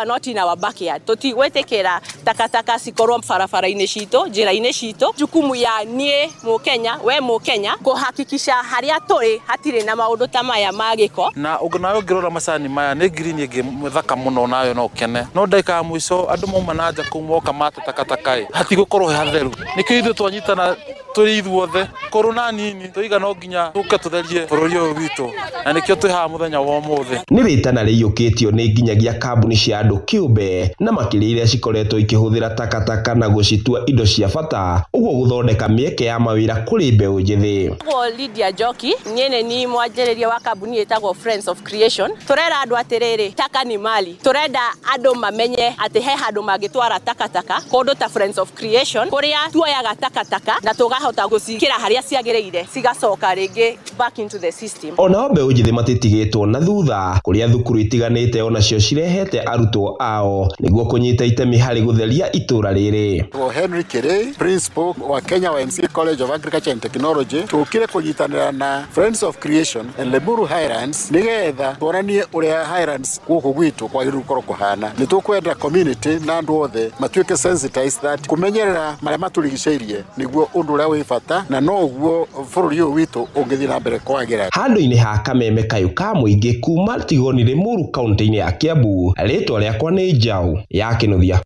However, not in our backyard. Tũtigwĩtĩkĩra takataka cikorwo barabara-inĩ citũ, njĩra-inĩ citũ. Jukumu ya niĩ Mũkenya, we Mũkenya, kũhakikisha harĩa tũrĩ hatirĩ na maũndũ ta maya ma gĩko. Na nawe ũngĩrora macani maya nĩ green ĩngĩ thaka mũno, nayo no ũkene, no ndagĩka ya mũico andũ mauma na nja kũu moka mate takataka ĩ, hatigũkorwo he hatheru. Nĩkĩo ithuĩ twanyitana tũrĩ ithuothe kũrũ na nini tũiga no nginya tũke tũtherie bũrũri ũyũ witũ, na nĩkĩo twĩ haha mũthenya wa ũmũthĩ. Nĩ rĩtana rĩiyũkĩtio nĩ nginyagia kambuni cia andũ kĩũmbe na makĩria iria cikoretwo ikĩhũthĩra takataka na gũcitua indo cia bata, ũguo gũthondeka mĩeke ya mawĩra kũrĩ mbeũ njĩthĩ. Njĩtagwo Lydia Njoki, niĩ nĩ ni mwanjĩrĩria wa kambuni ĩtagwo Friends of Creation. Tũrera andũ atĩrĩrĩ, taka ni mali. Tũrenda andũ mamenye atĩ he handũ mangĩtwara takataka kũndũ ta Friends of Creation, kũrĩa tuoyaga takataka na tũkahota gũciĩkĩra harĩa ciagĩrĩire, cigacoka rĩngĩ back into the system. Onao mbeũ njĩthĩ matitigĩtwo na thutha, kũrĩa thukuru itiganĩte onacio cirehete arutwo ao nĩguo kũnyita itemi harĩ gũtheria itũra rĩrĩ. Henry Kirei, principal wa Kenya YMCA College of Agriculture and Technology, tũkire kũnyitanĩra na Friends of Creation and Limuru Highlands nĩgetha tuonanie ũrĩa Highlands gũkũ gwitũ kwagĩrĩirwo gũkorwo kũhana. Nĩ tũkwenda community na andũ othe matuĩke sensitized that kũmenyerera marĩa matũrigicĩirie nĩguo ũndũ ũrĩa wĩ bata, na noguo bũrũri ũyũ witũ ũngĩthiĩ na mbere kwagĩra. Handũ-inĩ ha kameme kayũ ka mũingĩ kuma Tigoni Limuru kaunti-inĩ ya Kiambu, rĩtwa rĩakwa nĩ Njaũ ya Kĩnuthia.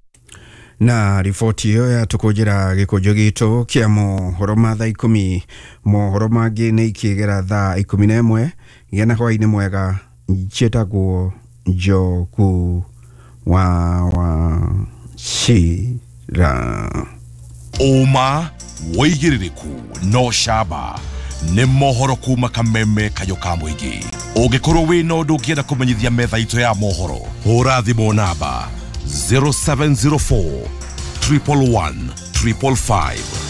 Na riboti ĩyo yatũkũnjĩra gĩkũnjo gitũ kĩa mohoro ma thaa 10. Mohoro mangĩ nĩ ikĩgera thaa 11. Gĩa na hwaĩ-inĩ mwega. Njĩtagwo Njogu wa Wachira. Ũma wĩigĩrĩrĩku no camba nĩ mohoro kuma kameme kayũ ka mũingĩ. Ũngĩkorwo wĩna ũndũ ũngĩenda kũmenyithia metha itũ ya mohoro, hũra thimũ namba 0704 111 555.